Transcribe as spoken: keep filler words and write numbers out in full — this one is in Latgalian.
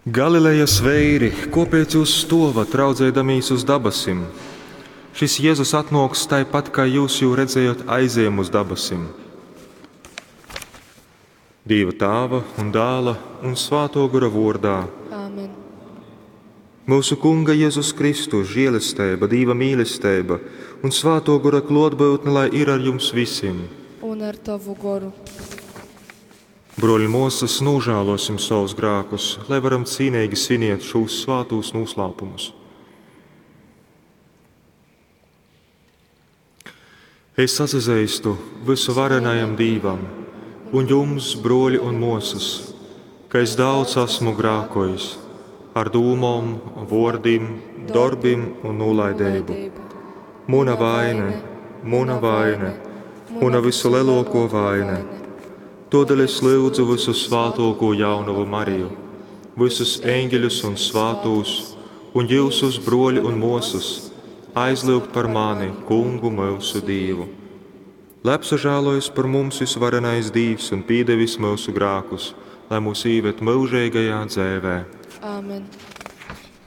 Galilejas veiri, kōpēc jyus stōvat, raudzeidamīs uz dabasim? Šys Jezus atnōks tai pat, kai jyus jū redzējot aizejam uz dabasim. Dīva Tāva un Dāla un Svātō Gora vōrdā. Āmen. Myusu Kunga Jezus Kristus žēlesteiba, Dīva mīlesteiba un Svātō Gora klōtbyutne lai ir ar jums visim. Un ar tovu goru. Brōļi un mōsas, nūžālōsim sovus grākus, lai varam cīneigi sviniet šūs svātūs nūslāpumus. Es atsazeistu vysuvarenajam Dīvam un jums, brōļi un mōsas, ka es daudz esmu grākojis ar dūmom, vōrdim, dorbim un nūlaideibu. Muna vaine, muna vaine, muna vysulelōkō vaine. Tōdēļ es lyudzu vysusvātōkū jaunovu Mariju, vysus eņģeļus un svātūs, un jyusus, brōļi un mōsas, aizlyugt par mani, Kungu myusu Dīvu. Lai apsažālojas par mums vysuvarenais Dīvs un pīdevis myusu grākus, lai mūs īved myužeigajā dzeivē. Āmen.